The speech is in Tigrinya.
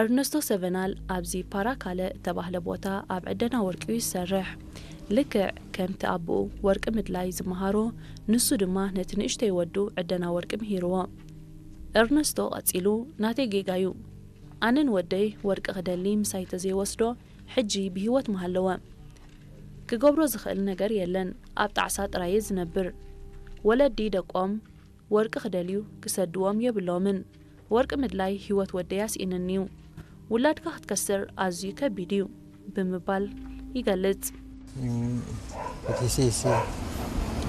ኤርነስቶ ሰቨናል ኣብዚ ፓራካለ እተባህለ ቦታ ኣብ ዕደና ወርቂ እዩ ዝሰርሕ። ልክዕ ከምቲ ኣቦኡ ወርቂ ምድላይ ዝመሃሮ፣ ንሱ ድማ ነቲ ንእሽተይ ወዱ ዕደና ወርቂ ምሂርዎ። ኤርነስቶ ቀጺሉ፣ "ናተይ ጌጋ እዩ። ኣነን ወደይ ወርቂ ክደሊ ምሳይ ተዘይወስዶ፣ ሕጂ ብህይወት ምሃለወ። ክገብሮ ዝኽእል ነገር የለን፣ ኣብ ጣዕሳ ጥራየ ዝነብር። ወለዲ ደቆም ወርቂ ክደልዩ ክሰድዎም የብሎምን። ወርቂ ምድላይ ህይወት ወደይ ኣስኢንኒዩ። ውላድካ ክትከስር ኣዝዩ ከቢድ እዩ" ብምባል ይገልጽ። Io, perché sì, sì,